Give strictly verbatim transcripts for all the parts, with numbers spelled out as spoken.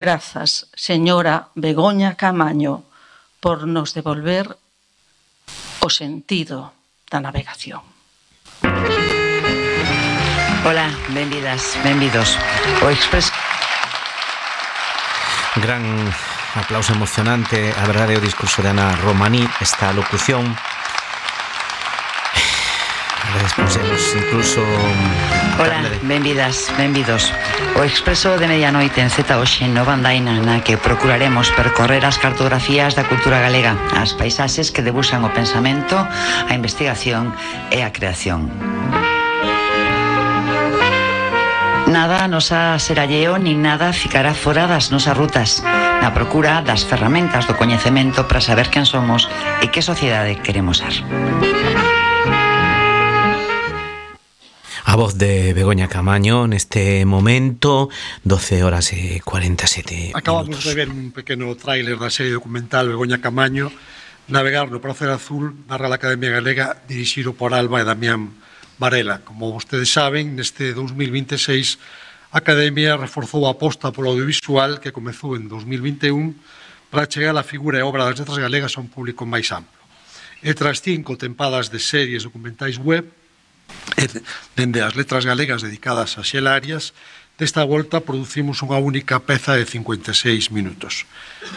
Grazas, señora Begoña Camaño, por nos devolver o sentido da navegación. Ola, benvidas, benvidos. O Express. Gran aplauso emocionante, a verdade, o discurso de Ana Romaní, esta locución. Despusemos incluso... Ola, benvidas, benvidos. O Expreso de Medianoite en Z hoxe no Bandaina, na que procuraremos percorrer as cartografías da cultura galega, as paisaxes que debuxan o pensamento, a investigación e a creación. Nada nos a seralleo nin nada ficará fora das nosas rutas, na procura das ferramentas do coñecemento para saber quen somos e que sociedade queremos ser. A voz de Begoña Camaño neste momento, doce horas e cuarenta e sete Acabamos minutos. de ver un pequeno tráiler da serie documental Begoña Camaño, Navegar no Pracer Azul, da Real Academia Galega, dirixido por Alba e Damián Varela. Como vostedes saben, neste dos mil vinte e seis a Academia reforzou a aposta polo audiovisual que comezou en dos mil vinte e un para chegar a figura e obra das letras galegas a un público máis amplo. E tras cinco tempadas de series documentais web, e dende as letras galegas dedicadas a Xela Arias, desta volta producimos unha única peza de cincuenta e seis minutos.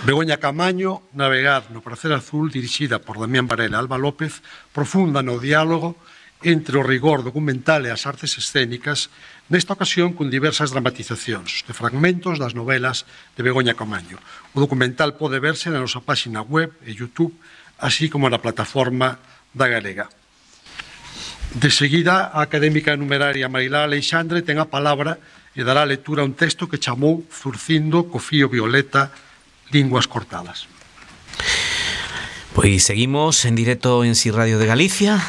Begoña Camaño, Navegar no Pracer Azul, dirixida por Damián Varela e Alba López, profunda no diálogo entre o rigor documental e as artes escénicas, nesta ocasión con diversas dramatizacións de fragmentos das novelas de Begoña Camaño. O documental pode verse na nosa páxina web e YouTube, así como na plataforma da Galega. De seguida, a académica numeraria Marilá Aleixandre ten a palabra e dará lectura a un texto que chamou Zurcindo co fío violeta, linguas cortadas. Pois seguimos en directo en Si Radio de Galicia,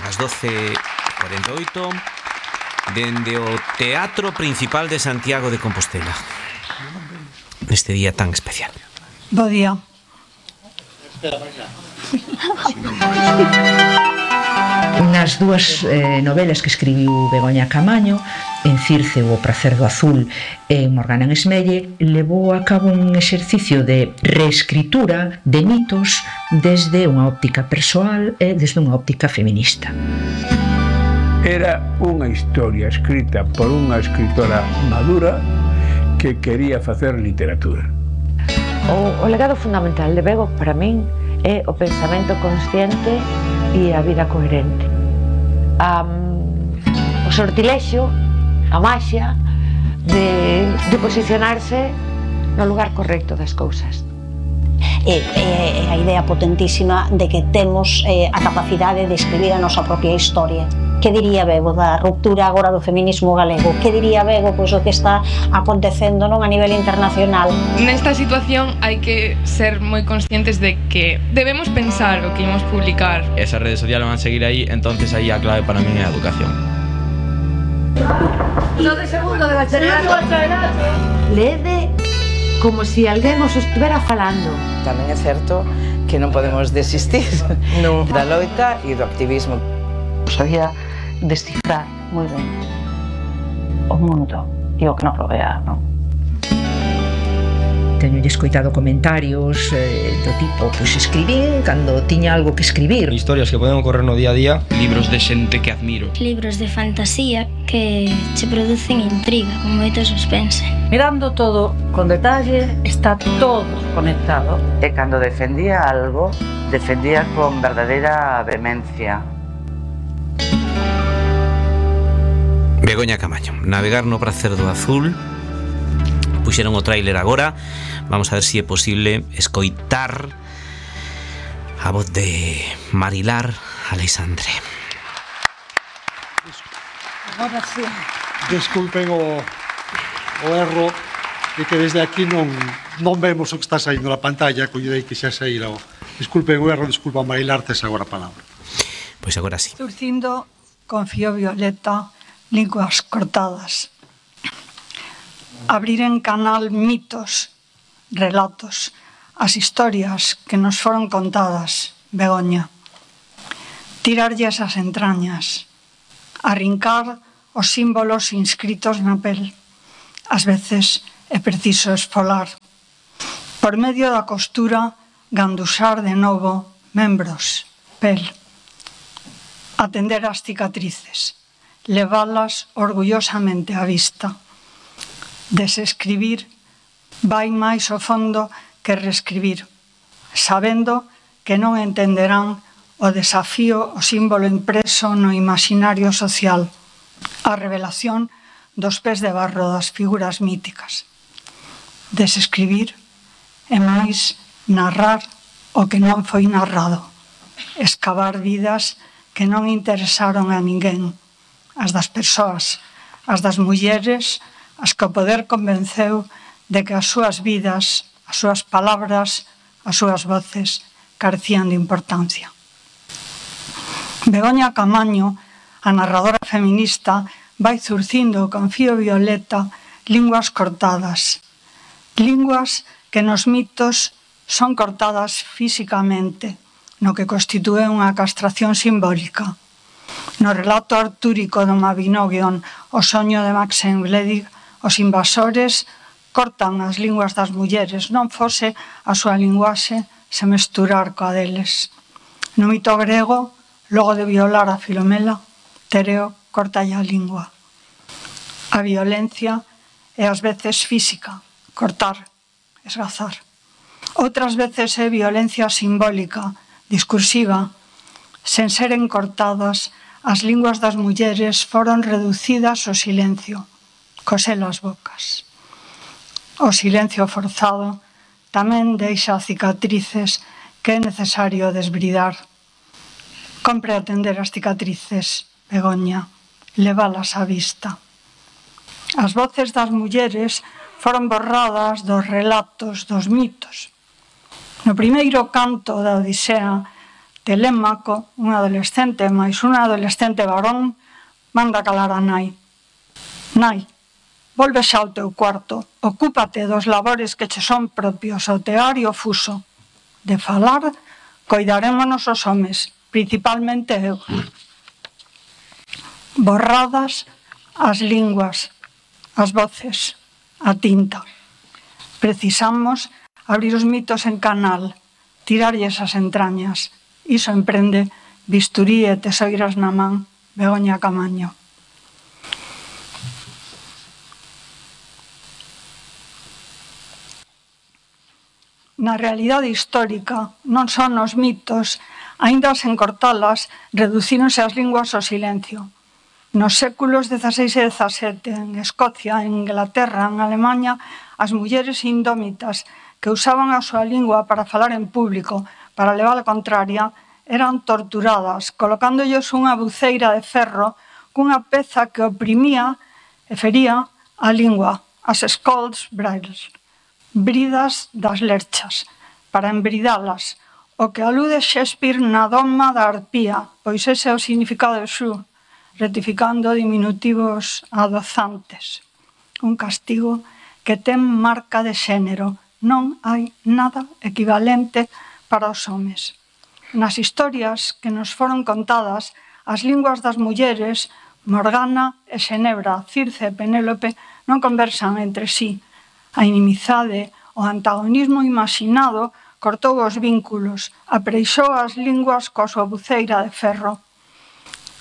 ás doce e cuarenta e oito, dende o Teatro Principal de Santiago de Compostela, neste día tan especial. Bo día. Nas dúas eh, novelas que escribiu Begoña Camaño, en Circe o Pracer do Azul e en Morgana en Esmelle, levou a cabo un exercicio de reescritura de mitos desde unha óptica persoal e desde unha óptica feminista. Era unha historia escrita por unha escritora madura que quería facer literatura. O, o legado fundamental de Bego para min é o pensamento consciente e a vida coherente. Um, o sortilexio, a maxia de, de posicionarse no lugar correcto das cousas. E, e a idea potentísima de que temos eh, a capacidade de escribir a nosa propia historia. Que diría Bego da ruptura agora do feminismo galego? Que diría Bego pois, o que está acontecendo non a nivel internacional? Nesta situación hai que ser moi conscientes de que debemos pensar o que imos publicar. Esas redes sociales van a seguir aí, entonces aí a clave para min é a educación. Lo de segundo de bachillerato. Lede como se si alguén os estivera falando. Tamén é certo que non podemos desistir no. da loita e do activismo. Sabía descifrar moi ben o mundo e o que nos rodea, non? Teño escoitado comentarios eh, do tipo, pois escribín cando tiña algo que escribir. Historias que poden ocorrer no día a día, libros de xente que admiro. Libros de fantasía que che producen intriga, con moito suspense. Mirando todo con detalle, está todo conectado. E cando defendía algo, defendía con verdadeira vehemencia. Begoña Camaño, Navegar no Pracer do Azul. Puxeron o tráiler agora. Vamos a ver se si é posible escoitar a voz de Marilar Aleixandre. Agora sí. Desculpen o, o erro de que desde aquí non, non vemos o que está saindo na pantalla, coidei que xa saíra o... Disculpen o erro, disculpa Marilar, tes agora a palabra. Pois agora sí. Zurcindo con fío violeta, linguas cortadas. Abrir en canal mitos, relatos, as historias que nos foron contadas, Begoña. Tirarlles as entrañas, arrincar os símbolos inscritos na pel, ás veces é preciso esfolar. Por medio da costura, gandusar de novo membros, pel. Atender as cicatrices, levalas orgullosamente á vista. Desescribir vai máis ao fondo que reescribir, sabendo que non entenderán o desafío, o símbolo impreso no imaginario social, a revelación dos pés de barro das figuras míticas. Desescribir e máis narrar o que non foi narrado, escavar vidas que non interesaron a ninguén, as das persoas, as das mulleres, as que o poder convenceu de que as súas vidas, as súas palabras, as súas voces carecían de importancia. Begoña Camaño, a narradora feminista, vai zurcindo con fío violeta linguas cortadas, linguas que nos mitos son cortadas físicamente, no que constitúe unha castración simbólica. No relato artúrico do Mabinogion, O soño de Maxen Bledig, os invasores cortan as linguas das mulleres, non fose a súa linguaxe se mesturar coa deles. No mito grego, logo de violar a Filomela, Tereo cortalle a lingua. A violencia é ás veces física, cortar, esgazar. Outras veces é violencia simbólica, discursiva. Sen seren cortadas, as linguas das mulleres foron reducidas ao silencio, cosel as bocas. O silencio forzado tamén deixa cicatrices que é necesario desbridar. Compre atender as cicatrices, Begoña, levalas á vista. As voces das mulleres foron borradas dos relatos, dos mitos. No primeiro canto da Odisea, Telémaco, un adolescente máis un adolescente varón, manda calar a nai. Nai, volve xa ao teu cuarto, ocúpate dos labores que che son propios, o tear e o fuso. De falar, coidarémonos os homes, principalmente eu. Borradas as linguas, as voces, a tinta. Precisamos abrir os mitos en canal, tirarlles as entrañas. Iso emprende Bisturí e tesoiras na man, Begoña Camaño. Na realidade histórica, non son os mitos, aínda sen cortalas, reducíronse as linguas ao silencio. Nos séculos dezaseis e dezasete, en Escocia, en Inglaterra, en Alemanha, as mulleres indómitas que usaban a súa lingua para falar en público, para levar a contraria, eran torturadas, colocándolles unha buceira de ferro cunha peza que oprimía e fería a lingua, as scolds bridles, bridas das lerchas, para embridalas, o que alude Shakespeare na doma da arpía, pois ese é o significado de xu, rectificando diminutivos adozantes. Un castigo que ten marca de xénero, non hai nada equivalente para os homes. Nas historias que nos foron contadas, as linguas das mulleres, Morgana e Xenebra, Circe e Penélope, non conversan entre sí. A inimizade, o antagonismo imaginado, cortou os vínculos, apreixou as linguas coa súa buceira de ferro.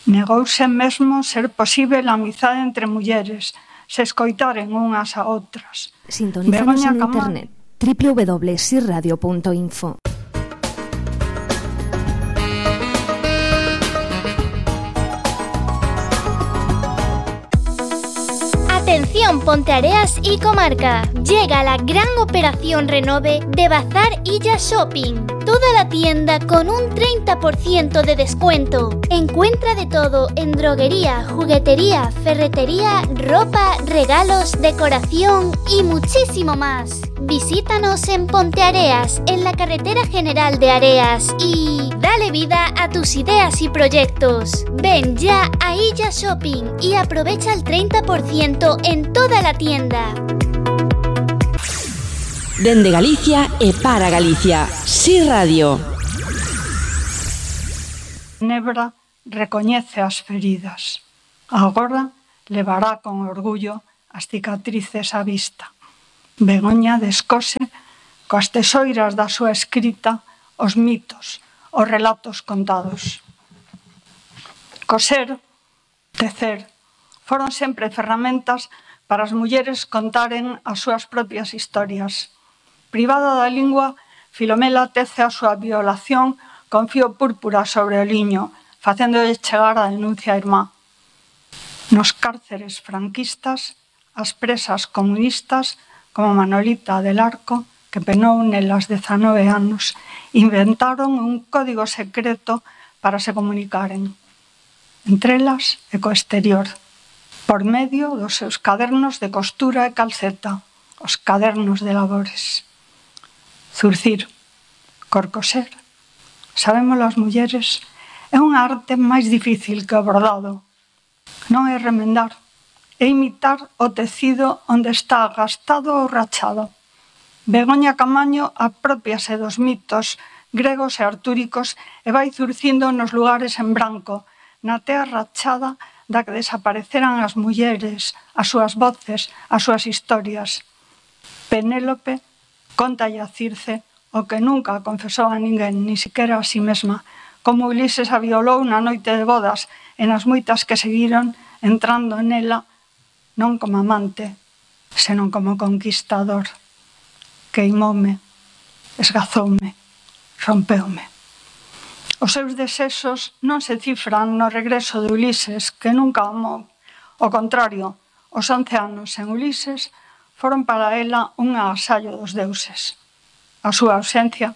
Negouse mesmo ser posível a amizade entre mulleres, se escoitaren unhas a outras. Sintonízanos en internet doble u doble u doble u punto si radio punto info. Atención Ponteareas y comarca, llega la gran operación Renove de Bazar Illa Shopping. Toda la tienda con un treinta por ciento de descuento. Encuentra de todo en droguería, juguetería, ferretería, ropa, regalos, decoración y muchísimo más. Visítanos en Ponteareas, en la carretera general de Areas y dale vida a tus ideas y proyectos. Ven ya a Illa Shopping y aprovecha el treinta por ciento en toda la tienda. Dende Galicia e para Galicia, Si Radio. Nebra recoñece as feridas. Agora levará con orgullo as cicatrices á vista. Begoña descose coas tesoiras da súa escrita os mitos, os relatos contados. Coser, tecer, foron sempre ferramentas para as mulleres contaren as súas propias historias. Privada da lingua, Filomela tece a súa violación con fío púrpura sobre o liño, facéndolle chegar a denuncia a irmá. Nos cárceres franquistas, as presas comunistas, como Manolita del Arco, que penou nelas dezanove anos, inventaron un código secreto para se comunicaren, entre elas e co exterior, por medio dos seus cadernos de costura e calceta, os cadernos de labores. Zurcir, corcoser, sabémolo as mulleres, é unha arte máis difícil que o bordado. Non é remendar, é imitar o tecido onde está gastado ou rachado. Begoña Camaño apropiase dos mitos gregos e artúricos e vai zurcindo nos lugares en branco, na tea rachada da que desapareceran as mulleres, as súas voces, as súas historias. Penélope contalle a Circe o que nunca confesou a ninguén, ni siquiera a si mesma, como Ulises a violou na noite de bodas e nas moitas que seguiron entrando nela non como amante, senón como conquistador. Queimoume, esgazoume, rompeume. Os seus desexos non se cifran no regreso de Ulises, que nunca amou. Ao contrario, os once anos en Ulises foron para ela un agasallo dos deuses. A súa ausencia,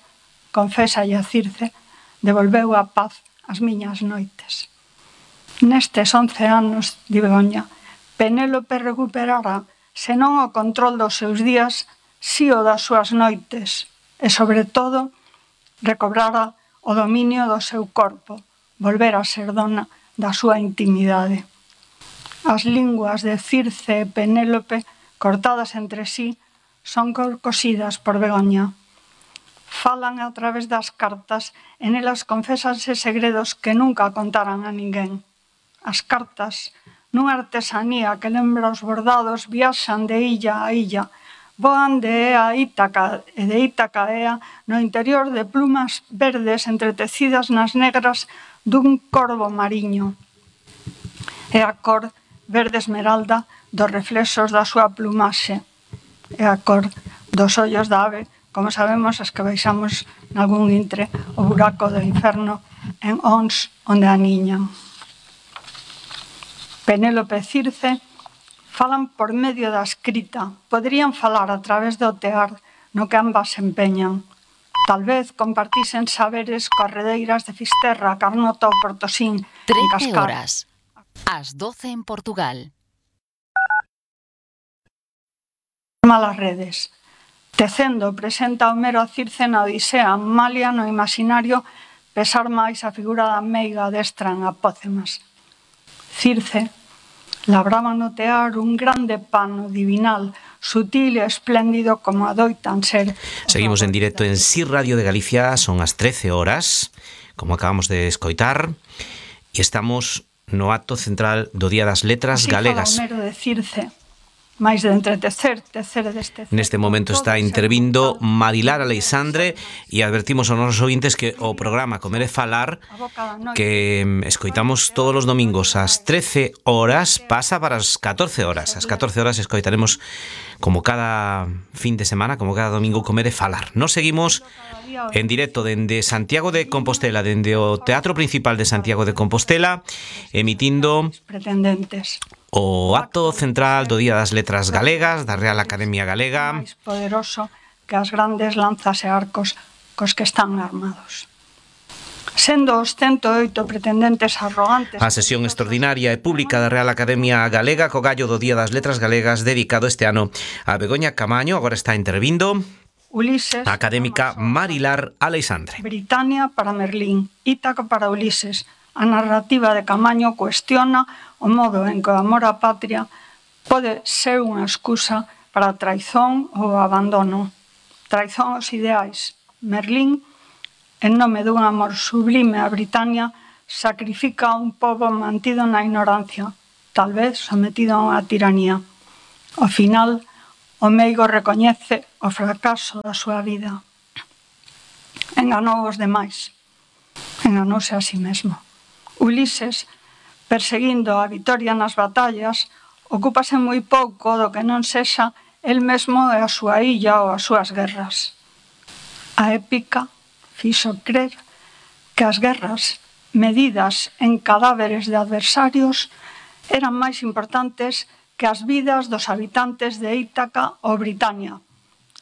confésalle a Circe, devolveu a paz ás miñas noites. Nestes once anos, di Begoña, Penélope recuperará, senón o control dos seus días, si o das súas noites, e, sobre todo, recobrara o dominio do seu corpo, volver a ser dona da súa intimidade. As linguas de Circe e Penélope, cortadas entre sí, son cosidas por Begoña. Falan a través das cartas e nelas confésanse segredos que nunca contaran a ninguén. As cartas, nunha artesanía que lembra os bordados, viaxan de illa a illa, voan de Ea a Ítaca e de Ítaca a Ea no interior de plumas verdes entretecidas nas negras dun corvo mariño. É a cor verde esmeralda dos reflexos da súa plumaxe. É a cor dos ollos da ave, como sabemos as que baixamos nalgún intre o buraco do inferno en Ons onde aniñan. Penélope e Circe falan por medio da escrita, poderían falar a través do tear no que ambas se empeñan. Tal vez compartisen saberes coas redeiras de Fisterra, Carnota ou Portosín, en Cascar. trece horas, ás doce en Portugal. Malas redes. Tecendo presenta Homero a Circe na Odisea, malia no imaginario pesar máis a figura da meiga destra en Apócemas. Circe labraba no tear un grande pano divinal, sutil e espléndido como adoitan ser. Seguimos en directo en S I Radio de Galicia, son as trece horas, como acabamos de escoitar, e estamos no acto central do Día das Letras Así Galegas. Homero de Circe, máis de entretecer, tecer e destecer. Neste momento está intervindo Marilar Aleixandre e advertimos aos nosos ouvintes que o programa Comer e Falar, que escoitamos todos os domingos ás trece horas, pasa para as catorce horas. As catorce horas escoitaremos, como cada fin de semana, como cada domingo, Comer e Falar. Nos seguimos en directo dende Santiago de Compostela, dende o Teatro Principal de Santiago de Compostela, emitindo pretendentes o acto central do Día das Letras Galegas da Real Academia Galega. máis poderoso que as grandes lanzas e arcos cos que están armados. Sendo os cento e oito pretendentes arrogantes... A sesión extraordinaria e pública da Real Academia Galega co gallo do Día das Letras Galegas dedicado este ano a Begoña Camaño, agora está intervindo Ulises, a académica Marilar Aleixandre. Britania para Merlín, Ítaca para Ulises. A narrativa de Camaño cuestiona o modo en que o amor á patria pode ser unha excusa para a traizón ou o abandono. Traizón aos ideais. Merlín, en nome dun amor sublime a Britania, sacrifica a un pobo mantido na ignorancia, tal vez sometido a unha tiranía. Ao final, o meigo recoñece o fracaso da súa vida. Enganou os demais. Enganouse a si mesmo. Ulises, perseguindo a vitoria nas batallas, ocúpase moi pouco do que non sexa el mesmo e a súa illa ou as súas guerras. A épica fixo crer que as guerras, medidas en cadáveres de adversarios, eran máis importantes que as vidas dos habitantes de Ítaca ou Britania.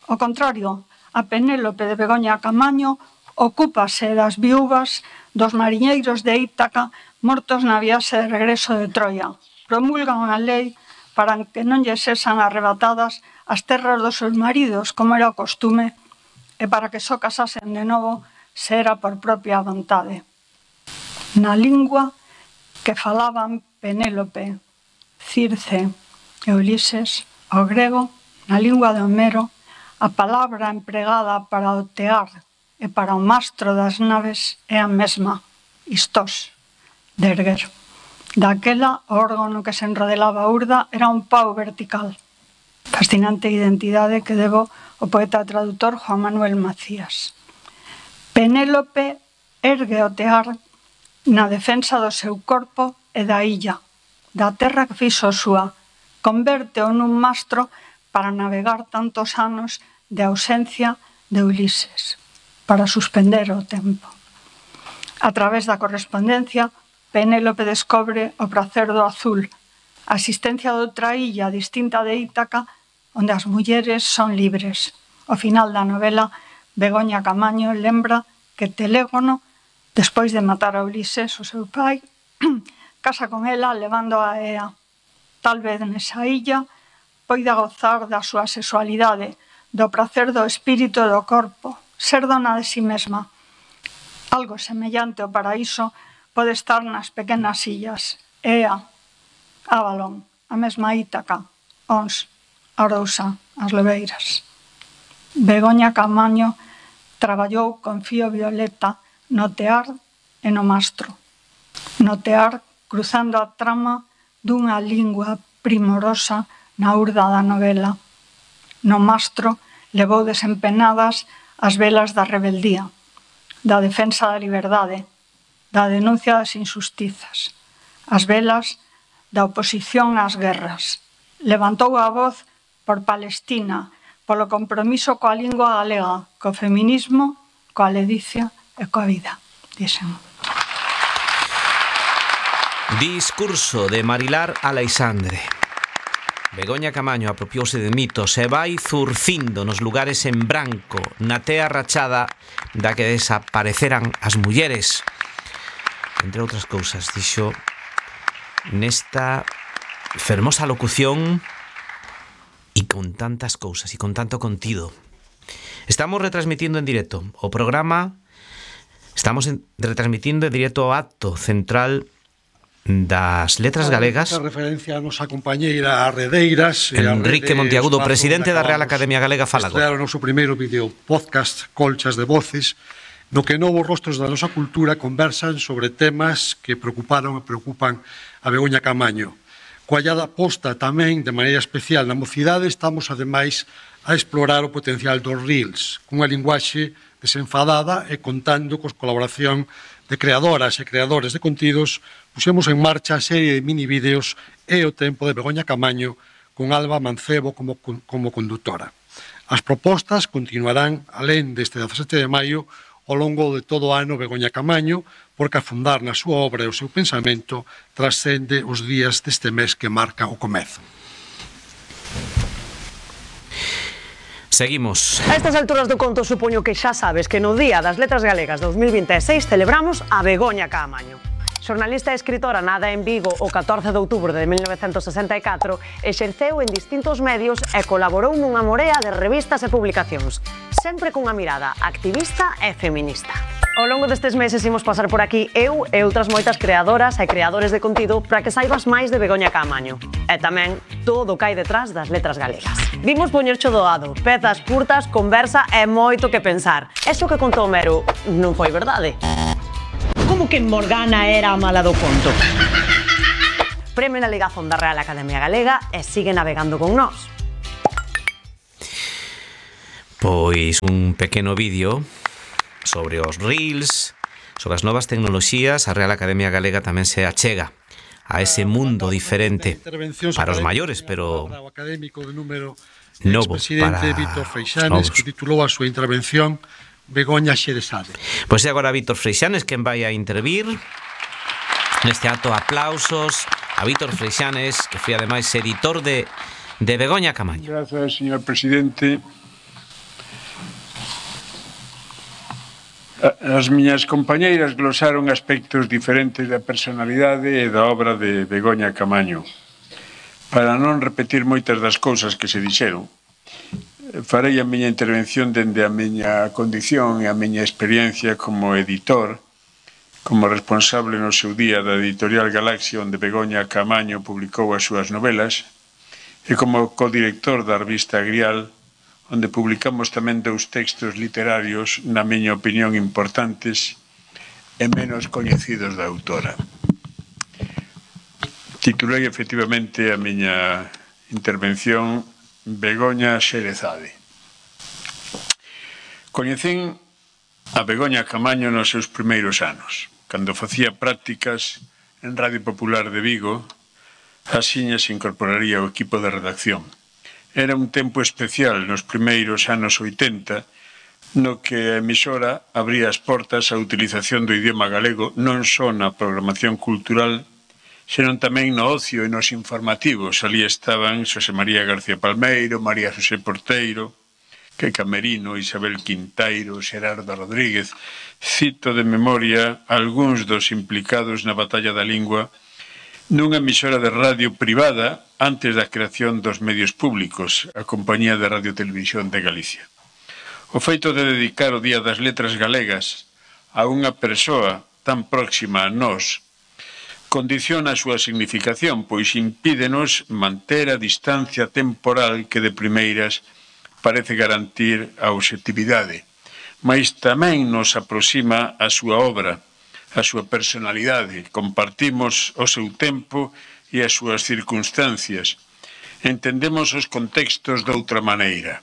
Ao contrario, a Penélope de Begoña Camaño ocúpase das viúvas dos mariñeiros de Ítaca mortos na viaxe de regreso de Troia. Promulgan unha lei para que non lles sexan arrebatadas as terras dos seus maridos, como era o costume, e para que só casasen de novo se era por propia vontade. Na lingua que falaban Penélope, Circe e Ulises, o grego, na lingua de Homero, a palabra empregada para o tear e para o mastro das naves é a mesma, istós, de erguer. Daquela, o órgano que se enrodelaba a urda era un pau vertical. Fascinante identidade que debo ao poeta e traductor Juan Manuel Macías. Penélope ergue o tear na defensa do seu corpo e da illa, da terra que fixo súa, converte-o nun mastro para navegar tantos anos de ausencia de Ulises, para suspender o tempo. A través da correspondencia, Penélope descobre o prazer do azul, a existencia de outra illa distinta de Ítaca, onde as mulleres son libres. Ao final da novela, Begoña Camaño lembra que Telégono, despois de matar a Ulises, o seu pai, casa con ela levando a Ea. Tal vez nesa illa poida gozar da súa sexualidade, do prazer do espírito e do corpo, ser dona de si mesma. Algo semellante ao paraíso pode estar nas pequenas illas, Ea, Avalon, a mesma Ítaca, Ons, Arousa, as Lobeiras. Begoña Camaño traballou con fío violeta no tear e no mastro. No tear, cruzando a trama dunha lingua primorosa na urda da novela. No mastro, levou desempenadas as velas da rebeldía, da defensa da liberdade, da denuncia das injustizas, as velas da oposición ás guerras. Levantou a voz por Palestina, polo compromiso coa lingua galega, co feminismo, coa ledicia e coa vida, dixen. Discurso de Marilar Aleixandre. Begoña Camaño apropiouse de mitos e vai zurcindo nos lugares en branco, na tea rachada da que desapareceran as mulleres. Entre outras cousas, dixo nesta fermosa locución e con tantas cousas e con tanto contido. Estamos retransmitindo en directo o programa, estamos en, retransmitindo en directo o acto central das Letras Galegas. A referencia a nosa compañeira Arredeiras, Enrique Monteagudo, presidente da Real Academia Galega, fala. Estrear o noso primeiro vídeo podcast Colchas de Voces, no que novos rostros da nosa cultura conversan sobre temas que preocuparon e preocupan a Begoña Camaño. Coa allada posta tamén, de maneira especial, na mocidade, estamos, ademais, a explorar o potencial dos reels, cunha linguaxe desenfadada e contando cos colaboración de creadoras e creadores de contidos, puxemos en marcha a serie de mini vídeos E o tempo de Begoña Camaño, con Alba Mancebo como, como conductora. As propostas continuarán, alén deste dezasete de maio, ao longo de todo o ano Begoña Camaño, porque a fundar na súa obra e o seu pensamento trascende os días deste mes que marca o comezo. Seguimos. A estas alturas do conto supoño que xa sabes que no Día das Letras Galegas dos mil vinte e seis celebramos a Begoña Camaño. Xornalista e escritora nada en Vigo o catorce de outubro de mil novecentos sesenta e catro, exerceu en distintos medios e colaborou nunha morea de revistas e publicacións, sempre cunha mirada activista e feminista. Ao longo destes meses imos pasar por aquí eu e outras moitas creadoras e creadores de contido para que saibas máis de Begoña Camaño e tamén todo o que hai detrás das letras galegas. Vimos poñercho doado, pezas curtas, conversa e moito que pensar. Eso que contou Homero non foi verdade. Como que Morgana era a mala do conto? Premio na ligazón da Real Academia Galega e sigue navegando con nós. Pois un pequeno vídeo sobre os reels, sobre as novas tecnoloxías. A Real Academia Galega tamén se achega a ese mundo diferente para os maiores, pero novo para Víctor Freixanes, que titulou a súa intervención Begoña Xerezade. Pois é agora Víctor Freixanes quen vai a intervir neste acto. Aplausos a Víctor Freixanes, que foi ademais editor de, de Begoña Camaño. Grazas, señor presidente. As miñas compañeiras glosaron aspectos diferentes da personalidade e da obra de Begoña Camaño. Para non repetir moitas das cousas que se dixeron, farei a miña intervención dende a miña condición e a miña experiencia como editor, como responsable no seu día da editorial Galaxia, onde Begoña Camaño publicou as súas novelas, e como codirector da revista Grial, onde publicamos tamén dous textos literarios, na miña opinión, importantes e menos coñecidos da autora. Titulei efectivamente a miña intervención Begoña Xerezade. Coñecín a Begoña Camaño nos seus primeiros anos, cando facía prácticas en Radio Popular de Vigo. Axiña se incorporaría ao equipo de redacción. Era un tempo especial nos primeiros anos oitenta, no que a emisora abría as portas á utilización do idioma galego non só na programación cultural, senón tamén no ocio e nos informativos. Ali estaban Xosé María García Palmeiro, María Xosé Porteiro, que Camerino, Isabel Quintairo, Xerardo Rodríguez. Cito de memoria algúns dos implicados na batalla da lingua nunha emisora de radio privada antes da creación dos medios públicos, a Compañía de Radio Televisión de Galicia. O feito de dedicar o Día das Letras Galegas a unha persoa tan próxima a nós condiciona a súa significación, pois impídenos manter a distancia temporal que de primeiras parece garantir a obxectividade, mas tamén nos aproxima a súa obra, a súa personalidade. Compartimos o seu tempo e as súas circunstancias. Entendemos os contextos de outra maneira.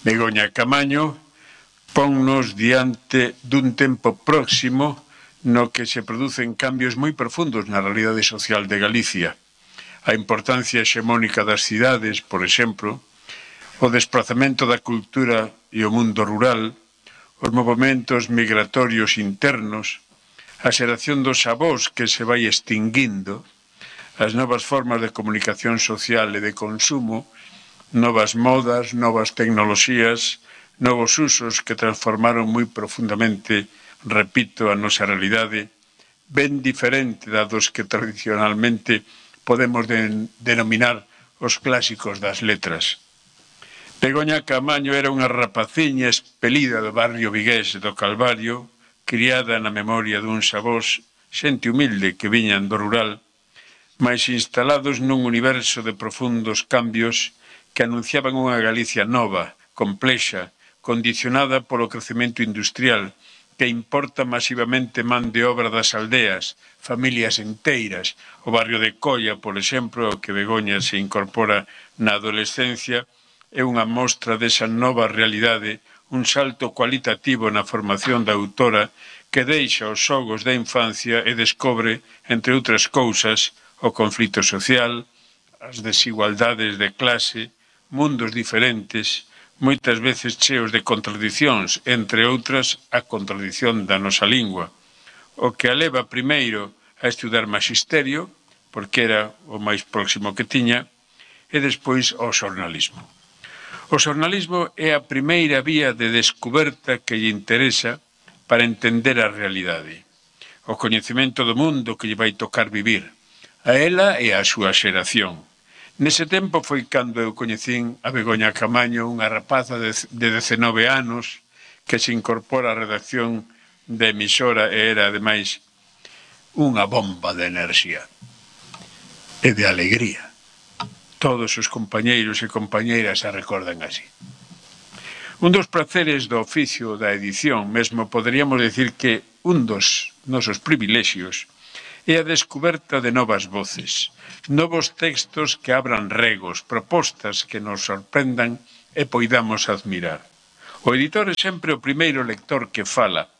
Begoña Camaño ponnos diante dun tempo próximo no que se producen cambios moi profundos na realidade social de Galicia. A importancia hexemónica das cidades, por exemplo, o desplazamento da cultura e o mundo rural, os movimentos migratorios internos, a xeración dos avós que se vai extinguindo, as novas formas de comunicación social e de consumo, novas modas, novas tecnoloxías, novos usos que transformaron moi profundamente, repito, a nosa realidade, ben diferente da dos que tradicionalmente podemos de, denominar os clásicos das letras. Begoña Camaño era unha rapaciña expelida do barrio vigués do Calvario, criada na memoria duns avós, xente humilde que viñan do rural, mas instalados nun universo de profundos cambios que anunciaban unha Galicia nova, complexa, condicionada polo crecemento industrial, que importa masivamente man de obra das aldeas, familias enteiras. O barrio de Colla, por exemplo, ao que Begoña se incorpora na adolescencia, é unha mostra desa nova realidade, un salto cualitativo na formación da autora que deixa os xogos da infancia e descobre, entre outras cousas, o conflito social, as desigualdades de clase, mundos diferentes, moitas veces cheos de contradicións, entre outras a contradición da nosa lingua, o que a leva primeiro a estudar magisterio, porque era o máis próximo que tiña, e despois ao xornalismo. O xornalismo é a primeira vía de descuberta que lle interesa para entender a realidade, o coñecemento do mundo que lle vai tocar vivir, a ela e a súa xeración. Nese tempo foi cando eu coñecín a Begoña Camaño, unha rapaza de dezenove anos que se incorpora á redacción da emisora e era, ademais, unha bomba de enerxía e de alegría. Todos os compañeiros e compañeiras a recordan así. Un dos praceres do oficio da edición, mesmo poderíamos decir que un dos nosos privilexios, é a descoberta de novas voces, novos textos que abran regos, propostas que nos sorprendan e poidamos admirar. O editor é sempre o primeiro lector que fala,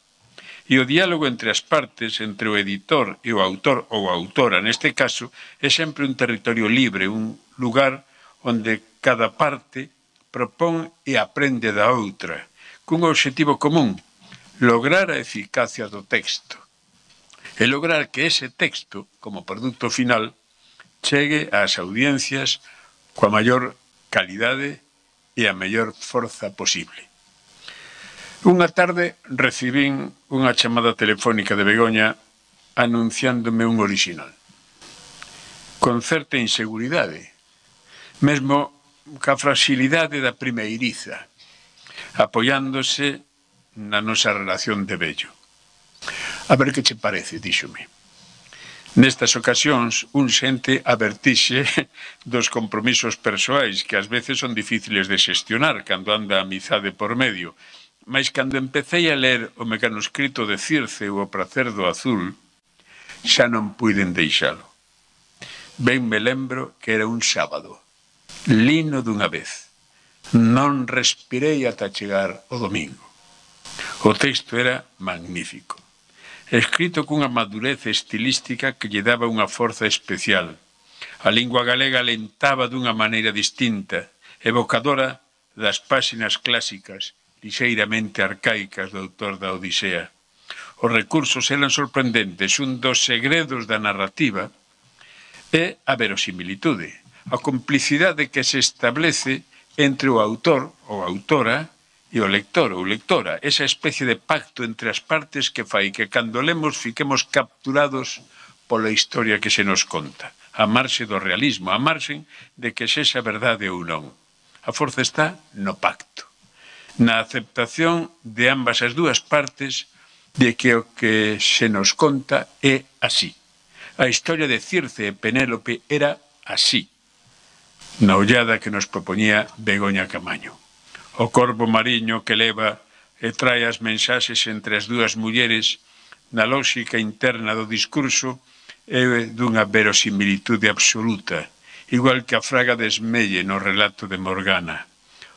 e o diálogo entre as partes, entre o editor e o autor ou a autora, neste caso, é sempre un territorio libre, un lugar onde cada parte propón e aprende da outra, cun obxectivo común, lograr a eficacia do texto, e lograr que ese texto, como produto final, chegue ás audiencias coa maior calidade e a mellor forza posible. Unha tarde recibín unha chamada telefónica de Begoña anunciándome un original. Con certa inseguridade, mesmo ca fragilidade da primeiriza, apoiándose na nosa relación de vello. A ver que che parece, díxome. Nestas ocasións, un xente a vertixe dos compromisos persoais que ás veces son difíciles de xestionar cando anda a amizade por medio, mas cando empecé a ler o mecanoscrito de Circe ou o pracer do azul, xa non puiden deixalo. Ben me lembro que era un sábado, lino dunha vez. Non respirei ata chegar o domingo. O texto era magnífico, escrito cunha madurez estilística que lle daba unha forza especial. A lingua galega alentaba dunha maneira distinta, evocadora das páxinas clásicas, lixeiramente arcaicas do autor da Odisea. Os recursos eran sorprendentes. Un dos segredos da narrativa é a verosimilitude, a complicidade que se establece entre o autor ou autora e o lector ou lectora, esa especie de pacto entre as partes que fai que cando lemos fiquemos capturados pola historia que se nos conta, a marxe do realismo, a marxe de que sexa verdade ou non. A forza está no pacto, na aceptación de ambas as dúas partes de que o que se nos conta é así. A historia de Circe e Penélope era así, na ollada que nos propoñía Begoña Camaño. O corvo mariño que leva e trae as mensaxes entre as dúas mulleres na lógica interna do discurso é dunha verosimilitude absoluta, igual que a fraga de Esmelle no relato de Morgana.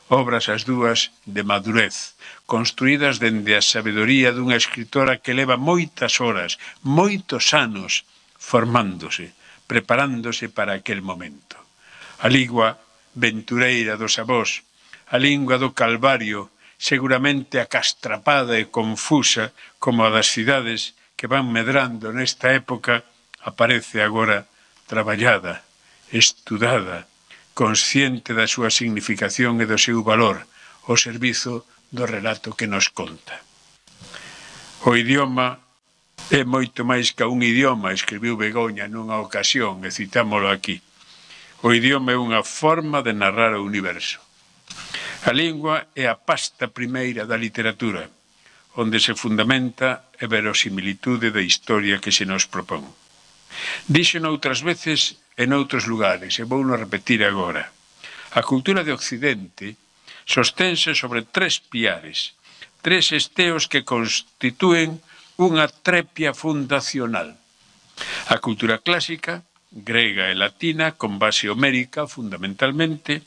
Obras as dúas de madurez, construídas dende a sabedoría dunha escritora que leva moitas horas, moitos anos, formándose, preparándose para aquel momento. A lingua ventureira dos avós, a lingua do Calvario, seguramente acastrapada e confusa como a das cidades que van medrando nesta época, aparece agora traballada, estudada, consciente da súa significación e do seu valor, ao servizo do relato que nos conta. O idioma é moito máis que un idioma, escribiu Begoña nunha ocasión, e citámolo aquí. O idioma é unha forma de narrar o universo. A lingua é a pasta primeira da literatura, onde se fundamenta a verosimilitude da historia que se nos propón. Díxeno outras veces en outros lugares, e vouno repetir agora. A cultura de Occidente sostense sobre tres piares, tres esteos que constitúen unha trepia fundacional. A cultura clásica, grega e latina, con base homérica, fundamentalmente,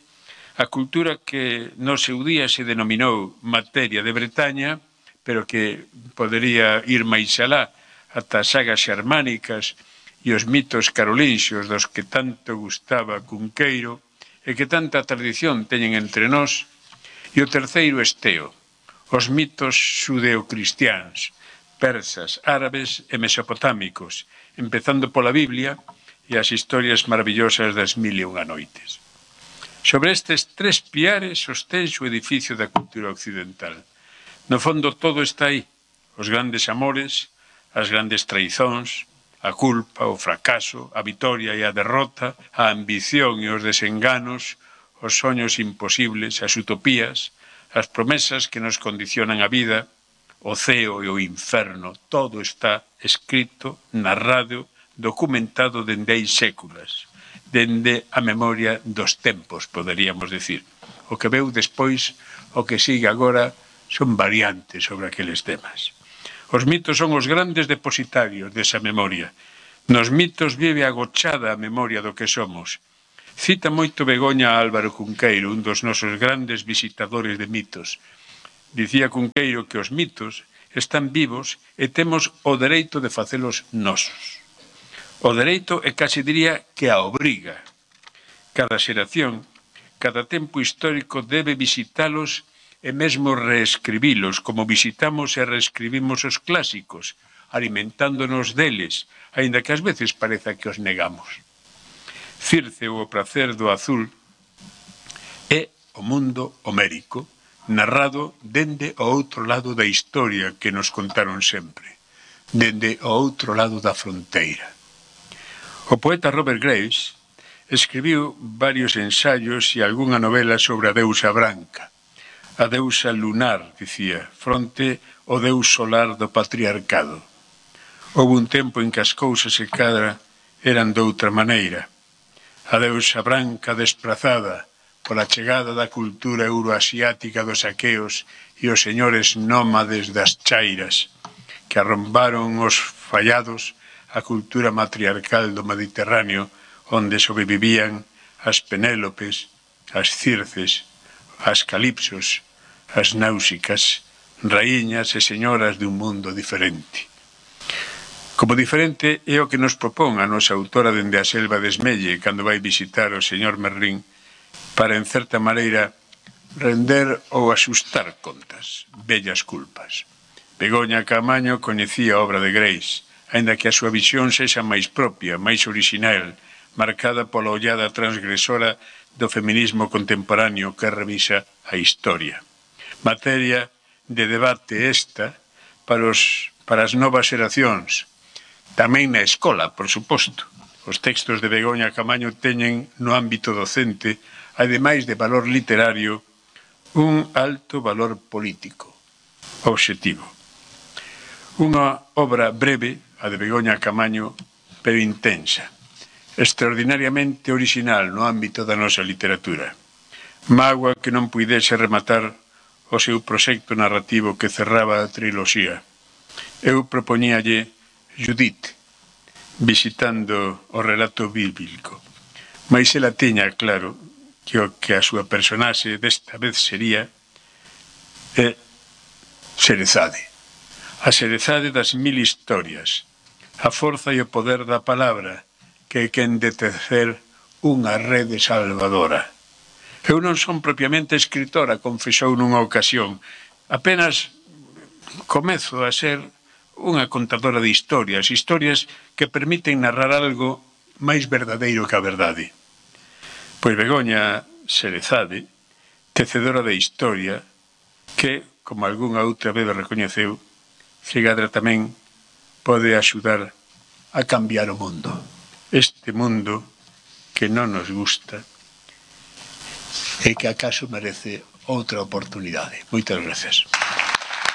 a cultura que no seu día se denominou materia de Bretaña, pero que podería ir máis alá, ata as sagas xermánicas e os mitos carolinxios dos que tanto gustaba Cunqueiro e que tanta tradición teñen entre nós, e o terceiro esteo, os mitos xudeocristiáns, persas, árabes e mesopotámicos, empezando pola Biblia e as historias maravillosas das mil e unha noites. Sobre estes tres piares sostense o edificio da cultura occidental. No fondo todo está aí, os grandes amores, as grandes traizóns, a culpa, o fracaso, a vitoria e a derrota, a ambición e os desenganos, os soños imposibles, as utopías, as promesas que nos condicionan a vida, o ceo e o inferno, todo está escrito, narrado, documentado dende hai séculas, dende a memoria dos tempos, poderíamos decir. O que veu despois, o que sigue agora, son variantes sobre aqueles temas. Os mitos son os grandes depositarios desa memoria. Nos mitos vive agochada a memoria do que somos. Cita moito Begoña a Álvaro Cunqueiro, un dos nosos grandes visitadores de mitos. Dicía Cunqueiro que os mitos están vivos e temos o dereito de facelos nosos. O dereito e case diría que a obriga. Cada xeración, cada tempo histórico debe visitalos e mesmo reescribilos, como visitamos e reescribimos os clásicos, alimentándonos deles, aínda que ás veces pareza que os negamos. Circe ou o pracer do azul é o mundo homérico, narrado dende o outro lado da historia que nos contaron sempre, dende o outro lado da fronteira. O poeta Robert Graves escribiu varios ensaios e algunha novela sobre a deusa branca, a deusa lunar, dicía, fronte ao deus solar do patriarcado. Houve un tempo en que as cousas e cadra eran doutra maneira. A deusa branca desprazada pola chegada da cultura euroasiática dos aqueos e os señores nómades das chairas, que arrombaron os fallados a cultura matriarcal do Mediterráneo, onde sobrevivían as Penélopes, as Circes, as Calipsos, as Náusicas, raíñas e señoras dun mundo diferente. Como diferente é o que nos propón a nosa autora dende a selva de Esmelle cando vai visitar o señor Merlín para, en certa maneira, render ou asustar contas, vellas culpas. Begoña Caamaño coñecía a obra de Graves, aínda que a súa visión sexa máis propia, máis orixinal, marcada pola ollada transgresora do feminismo contemporáneo que revisa a historia. Materia de debate esta para, os, para as novas xeracións, tamén na escola, por suposto. Os textos de Begoña Caamaño teñen no ámbito docente, ademais de valor literario, un alto valor político, obxectivo. Unha obra breve, a de Begoña Caamaño, pero intensa, extraordinariamente original no ámbito da nosa literatura. Mágoa que non puidese rematar o seu proxecto narrativo que cerraba a triloxía. Eu propoñíalle Judith, visitando o relato bíblico. Mais ela tiña claro que o que a súa personaxe desta vez sería é Xerezade. A Xerezade das mil historias, a forza e o poder da palabra, que é quen de tecer unha rede salvadora. Eu non son propiamente escritora, confesou nunha ocasión. Apenas comezo a ser unha contadora de historias, historias que permiten narrar algo máis verdadeiro que a verdade. Pois Begoña Xerezade, tecedora de historia, que, como algunha outra vez recoñeceu, Cigadra tamén pode axudar a cambiar o mundo. Este mundo que non nos gusta e que acaso merece outra oportunidade. Moitas gracias.